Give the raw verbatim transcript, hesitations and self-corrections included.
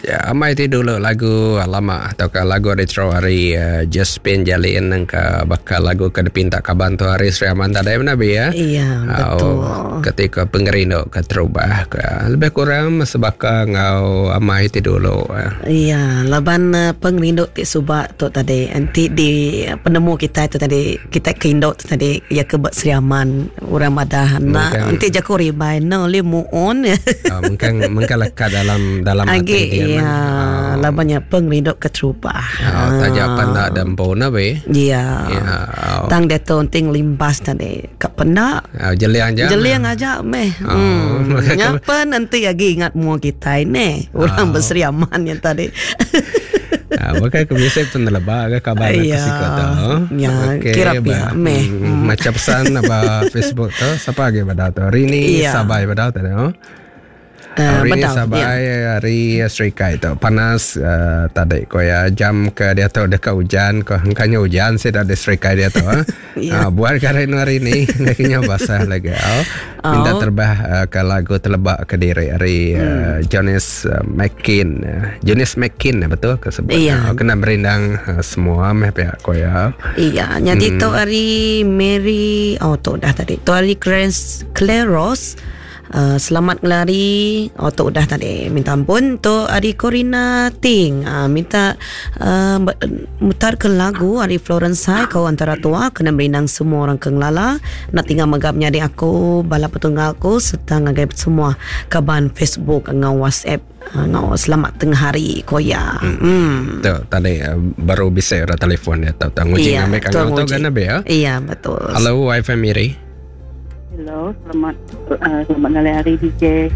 Ya, amai ti dulu lagu lama atau ke lagu retro hari uh, Josephine Jalin ke bakal lagu ke dipinta kaban tu hari Sri Aman tadi Nabi ya. Iya, betul. Oh, ketika pengerindu ke terubah ke lebih kurang sebaka ngau amai ti dulu. Iya, laban uh, pengerindu ti subak tu tadi nanti di penemu kita tu tadi, kita ke induk tu tadi ya ke Sri Aman orang madah na nanti jaku ribai no li muon. Uh, mungkin mungkin lekat dalam dalam hati dia. Iya, oh. Labannya pengerindu keterubah. Oh, tajak pandak dan pona be. Iya. Ya. Oh. Tang dia tu ting limbas tadi. Kak pendak. Oh, jeliang aja. Jeliang aja meh. Oh. Hmm. Nyapa nanti lagi ingat mua kita ini. Orang oh. Berseri Aman yang tadi. Ah, bukan kebiasaan pun lebak ke kabar aku sikot tu. Ya, kira pihak meh. Hmm. Macam pesan apa Facebook tu, siapa lagi pada tu? Rini Sabai pada tu. Uh, hari ini sabai ya. Hari Serikai tu panas uh, tadi ko ya jam ke dia tu dekat hujan ko hangkanya hujan sih di Serikai dia tu. Yeah. Uh, buat karen hari ini lakinya basah lagi. Oh. Minta terbah uh, ke lagu telebak ke diri hari hmm. uh, Jonas uh, McKin. Uh, Jonas McKin betul ke sebut. Yeah. Oh, kena merindang uh, semua meh pihak ko ya. Iya, jadi hmm. tu hari Mary oh tu dah tadi. Tu hari Claire Rose. Uh, selamat ngelari. Oh tu dah tadi. Minta ampun. Tu hari Corina Ting uh, minta uh, mutar ke lagu hari Florence Hai kau antara tua kena merindang semua orang ke ngelala nak tinggal megapnya di aku bala petunggal aku serta ngagai semua kaban Facebook ngau WhatsApp ngau selamat tengah hari koya. Hmm. Hmm. Tu tadi uh, baru bisa orang telefon dia tahu nguji ngambil kang tu kan be ya. Iya betul. Halo Wifi Miri. Hello, selamat uh, selamat ngalih hari D J.